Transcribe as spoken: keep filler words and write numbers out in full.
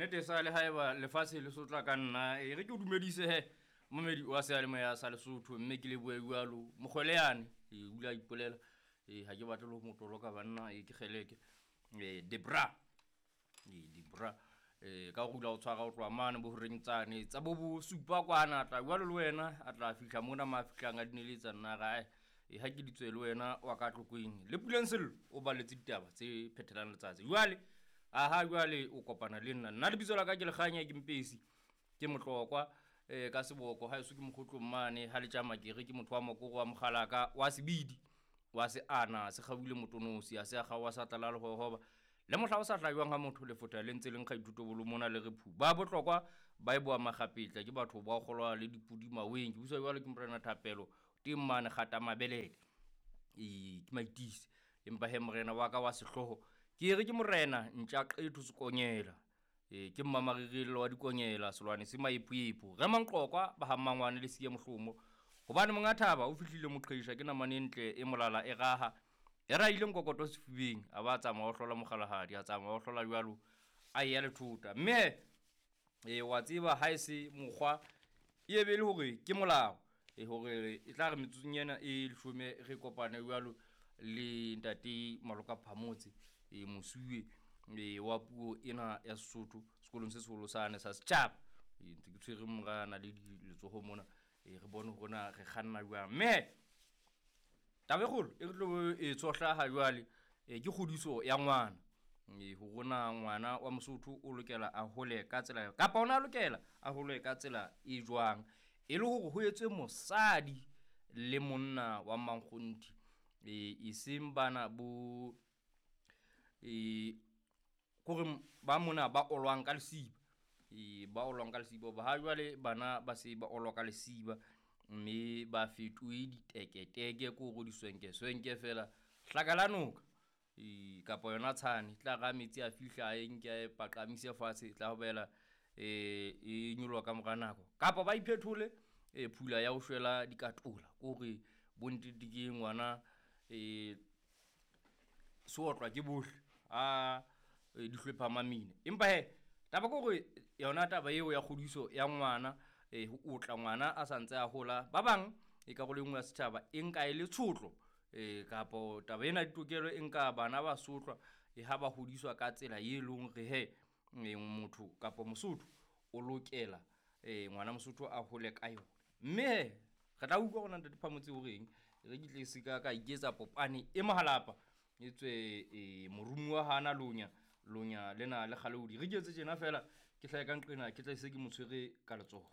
Nnete sa le haeba lefatshe le sotla ka nna, e re ke o dumedise he momedi wa seyalemoya sa Lesotho, mme ke lebohe jwalo mokgwele yane e o ile a ipolela. E ha ke batle le ho motoloka banna, e ke kgeleke e Debra e Debra e ka go dula o tshwara o tloha mane bo horeng tsane tsa bo bo supa kwana, tla jwalo le wena a tla fihla mona ma fihlang a dineletsa nna gae. E ha ke ditswe le wena wa ka Tlokweng le Puleng Sello o baletse ditaba tse phethelang letsatsi. Jwale aha jwale o kopana le nna, nna lebitso la ka ke Lekganya, ke Mpesi, ke Motlokwa eh ka seboko ha eso ke mokgotlong mane ha le tjama ke re ke motho wa mokoro wa mokgalaka wa sebidi wa se ana se kgabuile motonosi a se a kgaowa sa tlala le hohoba le mohla o sa hlajwang ha motho lefotha le ntse le nkga ditotobolo mona le re phu ba bohlokwa ba e boa makgapetla ke batho ba kgolwa le dipudi maweng. Ke buswa jwalo ke morena Thapelo teng mane kgata mabelele e ke maitise, empa he morena wa ka wa sehloho ke re ke morena ntja qetho sekonyela e ke mmamarirello wa dikonyela selwane se maepoepo re manqokwa ba ha mmangwane le siye mohlomo hobane monga thaba o fihlile moqhesha ke namane ntle e molala e raha e rahile nkokoto sefubeng a ba tsamaya o hlola mokgalahadi a tsamaya o hlola jwalo a ya lethota. Mme e wa tseba ha e se mokgwa e be le hore ke molao e hore e tla re metsotsong ena e leshome re kopane jwalo le ntate Maloka Phamotse e mosuwe e wa puo ena ya Sesotho sekolong se seholo sane sa setjhaba. E ntse ke tshwere morana le letsoho mona e re bone hore na re kganna jwang. Mme taba e kgolo e re tlo e tshohla ha jwale e ke kgodiso ya ngwana, e hore na ngwana wa Mosotho o lokela a hole ka tsela kapa ona a lokela a hole ka tsela e jwang, e le hore ho etswe mosadi le monna wa mankgonthi e e seng bana bo e kore ba mona ba olwang ka lesiba e ba olwang ka lesiba ba ha jwale bana ba se ba olwa ka lesiba mme ba fetohe diteketeke ko hore diswenke swenke fela hlaka la noka e kapa yona tshane tla ra metsi a fihla a e nke a e paqamise fatshe tla bela e e nyoloha ka mora nako kapa ba iphethole e phula ya ho shwela dikatola ko hore bontete ke ngwana e se otlwa ke bohle a di hlwepha mamina. Empa he taba ke hore yona taba eo ya kgodiso ya ngwana e ho otla ngwana a santse a hola ba bang e karolo e nngwe ya setjhaba e nka e le tshotlo e kapo taba ena ditokelo e nka bana ba sotlwa e ha ba hodiswa ka tsela e leng re he motho kapa Mosotho o lokela e ngwana Mosotho a hole ka yona. Mme he re tla utlwa hore ntate Phamotse o reng, re ke tle se ka ka iketsa popane e mahalapa e tswe e morumuwa hana lonya lonya lena le kgaleodi re ke etse tjena fela ke hlahe ka nqena ke tla se ke mo tshwere ka letsoho.